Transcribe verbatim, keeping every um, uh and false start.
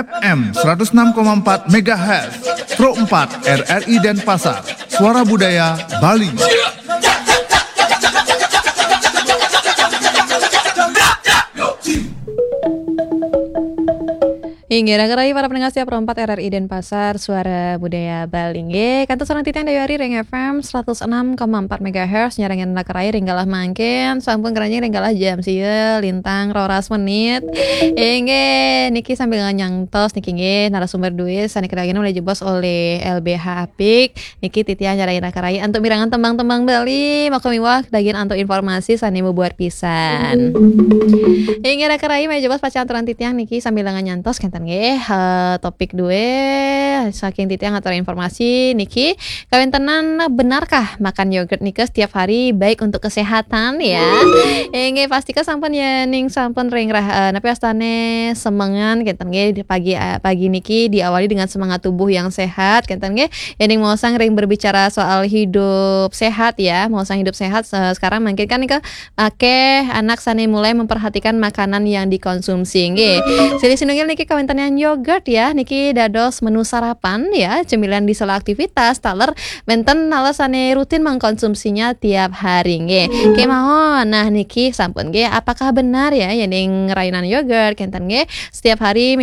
F M seratus enam koma empat megahertz, Pro empat R R I Denpasar, Suara Budaya Bali. Inggih, raga rai para pendengar setia Pro empat R R I Denpasar, Suara Budaya Bali. Inggih, kantun sareng titiang Dayu Ari ring F M seratus enam koma empat megahertz, nyarengin raga rai ring galah mangkin, sampun keranjing ring galah jam sia lintang roras menit. Inggih, niki sambil ngantos niki nggih narasumber duit sane kedagingin oleh jebos oleh L B H Apik. Niki titiang nyarengin raga rai antuk mirengang tembang-tembang Bali, maka miwah dagian antuk informasi sane mabuat pisan. Inggih raga rai, malih jebos pacang aturan titiang niki sambil ngantos kenten nggih, eh, topik duwe saking titiang atur informasi niki kawentenan, benarkah makan yogurt nika setiap hari baik untuk kesehatan ya? Inggih, pastika sampun ya ning sampun ring rah, eh, napi astane semengan kenten nggih di pagi, eh, pagi niki diawali dengan semangat tubuh yang sehat kenten nggih. Yening maosang ring berbicara soal hidup sehat ya, maosang hidup sehat, eh, sekarang mangkin kan nika akeh anak sane mulai memperhatikan makanan yang dikonsumsi nggih. Silih sinunggil niki kawentenan yogurt ya, niki dados menu sarapan ya, cemilan di sela aktivitas, taler wenten nala sane rutin mengkonsumsinya tiap hari nggih. Kemawon, nah niki sampun nggih, apakah benar ya yening rainan yogurt kenten nggih setiap hari